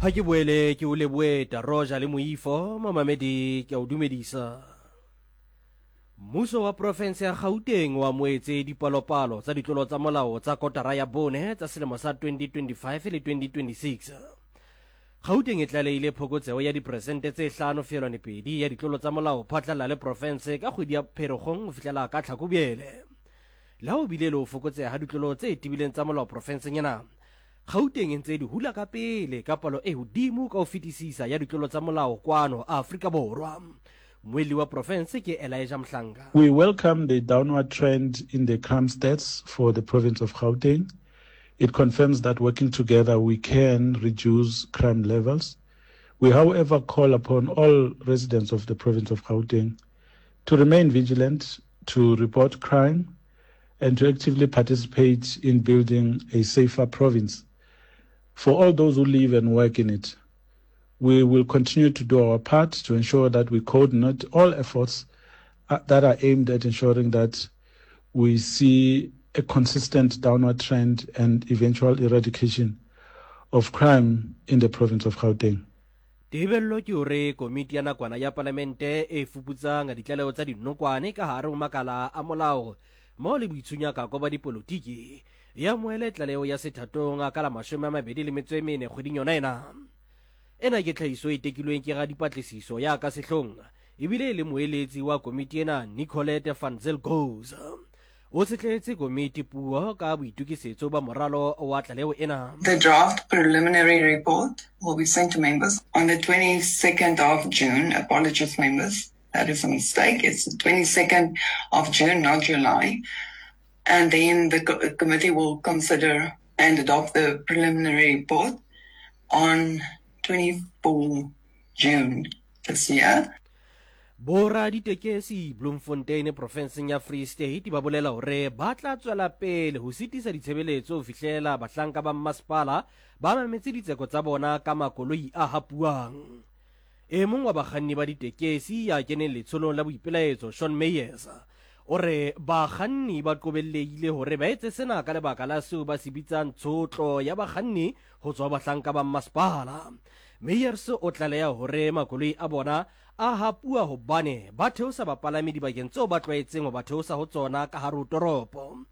Ha ke boele ke o leboe Taroja le Moifo, momamedi ke a o dumedisa. Mmuso wa profense ya Gauteng o amoetse dipalopalo tsa ditlolo tsa molao tsa kotara ya bone tsa selemo sa 2025 le 2026. Gauteng e tlalehile phokotseho ya diperesente tse 5.2 ya ditlolo tsa molao phatlalla le profense ka kgwedi ya Pherekgong ho fihlela ka Tlhakubele. Le ha ho bile le ho fokotseha ha ditlolo tse tebileng tsa molao profenseng ena, Gauteng e ntse e di hula ka pele ka palo e hodimo ka ho fetisisa ya ditlolo tsa molao kwano Afrika Borwa. Mmuelli wa profense ke Elijah Mhlanga. We welcome the downward trend in the crime stats for the province of Gauteng. It confirms that working together we can reduce crime levels. We however call upon all residents of the province of Gauteng to remain vigilant, to report crime and to actively participate in building a safer province for all those who live and work in it. We will continue to do our part to ensure that we coordinate all efforts uh, that are aimed at ensuring that we see a consistent downward trend and eventual eradication of crime in the province of Gauteng. Tebello ke hore komiti ya nakwana ya palamente e fuputsang ditlaleho tsa dinokwane ka hare ho makala a molao mmoho le boitshunyakako ba dipolotiki e amohele tlaleho ya sethatong ka la 24 kgweding yona ena. Ena ke tlhahiso e tekilweng ke radipatlisiso ya ka sehlong ebile e le moeletsi wa komiti ena Nicolette van Zyl Gouws. O tshetlehetse komiti puo ka boitokisetso ba moralo wa tlaleho ena. The draft preliminary report will be sent to members on the 22nd of June. Apologies, members. That is a mistake. It's the 22nd of June, not July. And then the co committee will consider and adopt the preliminary report on 24 June this year. Boraditekesi Bloemfontein profenseng ya Free State ba bolela hore ba tla tswela pele ho sitisa ditshebeletso ho fihlela bahlanka ba mmasepala ba mametse ditseko tsa bona ka makoloi a hapuwang. E mong wa bakganni ba ditekesi ya keneng letsholong la boipelaetso Sean Meyers o re bakganni ba qobellehile hore ba etse sena ka lebaka la seo ba se bitsang tshotlo ya bakganni ho tswa ho bahlanka ba mmasepala. Meyers o tlaleha hore makoloi a bona a hapuwa hobane ba theosa bapalami dibakeng tseo ba tlwaetseng ho ba theosa ho tsona ka hare ho toropo.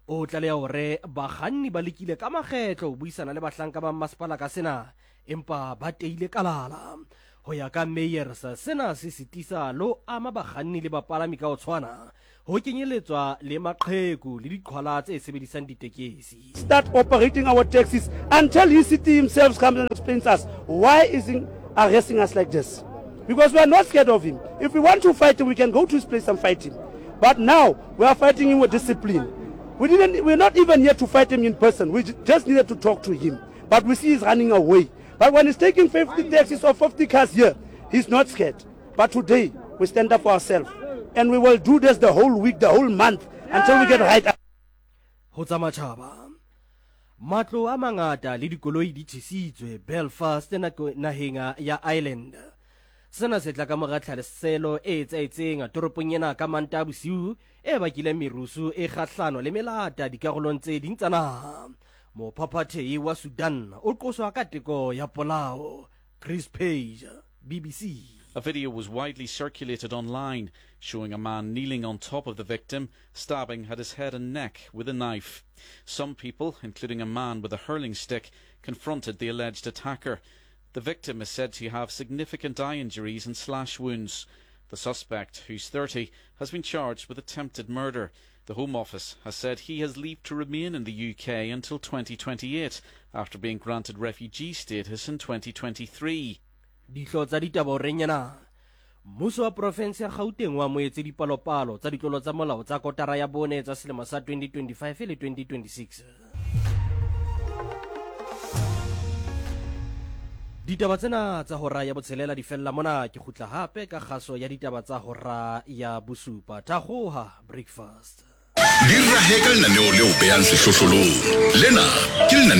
O tlaleha hore bakganni ba lekile ka makgetlo ho buisana le bahlanka ba mmasepala ka sena empa ba teile kalala. Ho ya ka Meyers, sena se sitisa le ho ama bakganni le bapalami ka ho tshwana, ho kenyeletswa le maqheku le diqhwala tse sebedisang ditekesi. Start operating our taxis until he city himself comes and explains us why is he arresting us like this because we are not scared of him if we want to fight him we can go to his place and fight him but now we are fighting him with discipline we didn't we're not even here to fight him in person we just needed to talk to him but we see he's running away but when he's taking 50 taxis or 50 cars here he's not scared but today we stand up for ourselves and we will do this the whole week the whole month until we get right Ho tsa matjhaba, matlo a mangata le dikoloi di tjhesitswe Belfast naheng ya Ireland. Sena se tla ka mora tlhaselo e etsahetseng toropong ena ka Mantaha bosiu e bakileng merusu e kgahlano le melata dikarolong tse ding tsa naha. Mophaphathehi wa Sudan o qoswa ka teko ya polao. Chris Page, BBC. A video was widely circulated online showing a man kneeling on top of the victim, stabbing at his head and neck with a knife. Some people, including a man with a hurling stick, confronted the alleged attacker. The victim is said to have significant eye injuries and slash wounds. The suspect, who's 30, has been charged with attempted murder. The Home Office has said he has leave to remain in the UK until 2028 after being granted refugee status in 2023. Dihlo tsa ditaba o reng ena? Mmuso wa profense ya Gauteng o amohetse dipalopalo tsa ditlolo tsa molao tsa kotara ya bone tsa selemo sa 2025 le 2026. Ditaba tsena tsa hora ya botshelela di fella mona. Ke kgutla hape ka kgaso ya ditaba tsa hora ya bosupa. Thakgoha Breakfast. Di rahe ka lenaneo le o behang sehlohlolong. Lena ke lenaneo.